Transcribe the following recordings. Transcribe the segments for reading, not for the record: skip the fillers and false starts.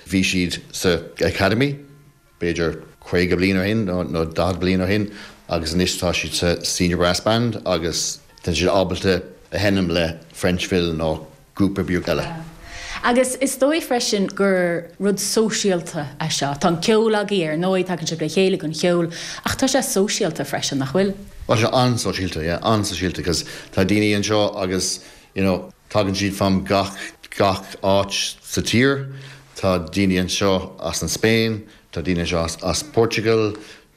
Bhí siad sa Academy b'fhéidir 50 bliain ó shin nó 40 bliain ó shin agus anois tá siad sa Senior Brass Band agus tá siad ábalta a sheinm le French Phil nó grúpa beag eile. Agus is dóigh freisin gur rud sóisialta é seo. Tá an ceol agaibh ar ndóigh, tagann sibh le chéile don cheol, ach tá sé sóisialta freisin, nach bhfuil? Tá sé an-sóisialta, yeah, an-sóisialta because tá daoine anseo agus you know tagann siad from gach gach áit sa tír. Tá daoine anseo as an Spain, tá daoine anseo as as Portugal,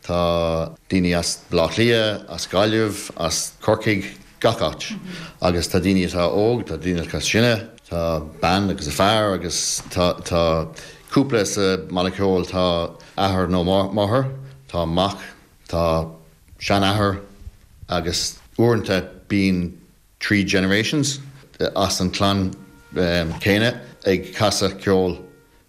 Tá daoine as Baile Átha Cliath, as Gaillimh, as Corcaigh, gach áit. Agus tá daoine atá óg, tá daoine atá sine, tá bean agus a fear agus tá tá cúpla sa mbanna ceoil, tá athair nó máthair, tá mac, tá seanathair agus uaireanta bíonn 3 generations as an clann céanna ag casadh ceoil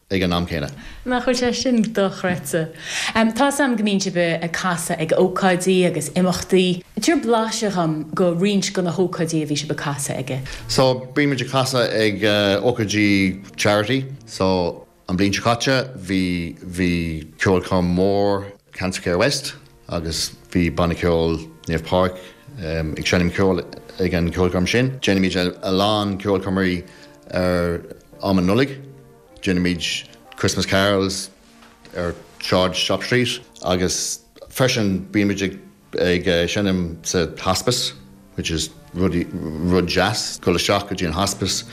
ag an am céanna. Nach bhfuil sé sin dochreidte? Tá's a'm go mbíonn sibh ag casadh ag ócáidí agus imeachtaí. Tabhair blaiseadh dhom go roinnt de na hócáidí a bhí sibh ag casadh aige. So, bíonn muid ag casadh ag ócáidí charity. So, an bhliain seo caite bhí bhí ceolchoirm mór Cancer Care West agus bhí Banna Ceoil Naomh Pádraig ag seinm ceoil ag an ceolchoirm sin. Déanaimid a lán ceolchoirmeacha ar am an Nollaig. Déanaimid Christmas Carols ar Shráid Shop Street agus freisin bímid ag ag seinm sa hospice which is rud rud deas dul isteach go dtí an hospice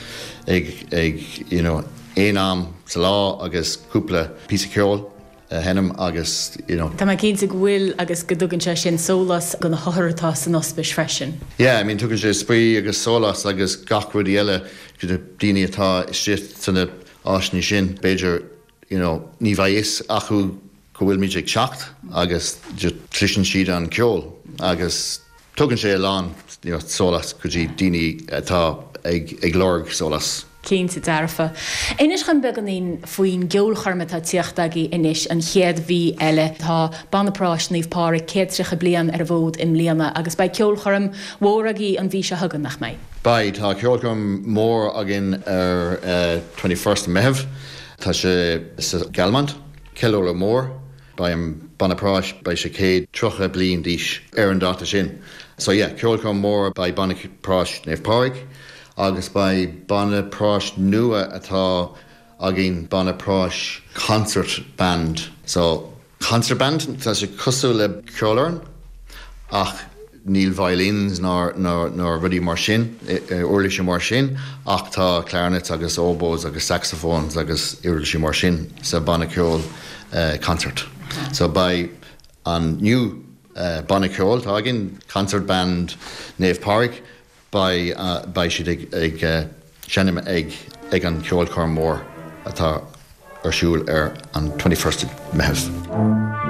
ag ag you know aon am sa lá agus cúpla píosa ceoil a sheinm agus you know. Tá mé cinnte go bhfuil agus go dtugann sé sin sólás do na hothair atá san ospís freisin. Yeah, I mean tugann sé spraoi agus sólás agus gach rudaí eile do na daoine atá istigh sna áiseanna sin. B'fhéidir you know ní bheidh fhios acu go bhfuilimid ag teacht agus just cloiseann siad an ceol agus tugann sé a lán you know sólás go dtí daoine atá ag ag lorg sólás. Cinnte dearfa. Inis dhom beagáinín faoin gceolchoirm atá ag tíocht agaibh anois an chéad mhí eile. Tá Banna Práis Naomh Pádraig 130 bliain ar an bhfód i mbliana agus beidh ceolchoirm mhór agaibh an mhí seo chugainn, nach mbeidh? Beidh. Tá ceolchoirm mór againn ar 21st Meitheamh. Tá sé sa Galmont. Ceiliúradh mór. Beidh an Banna Práis, beidh sé 130 bliain d'aois ar an dáta sin. So yeah, ceolchoirm mór, beidh Banna Práis Naomh Pádraig agus beidh Banna Práis nua atá againn, Banna Práis Concert Band. So concert band, tá sé cosúil le ceolfhoireann ach níl violins ná ná rudaí mar sin, uirlisí mar sin ach tá clarinets agus oboes agus saxophones agus uirlisí mar sin sa bhanna ceoil concert. So beidh an new banna ceoil atá againn, Concert Band Naomh Pádraig, beidh beidh siad ag ag seinm ag ag an cheolchoirm mór atá ar siúl ar an 21st Meitheamh.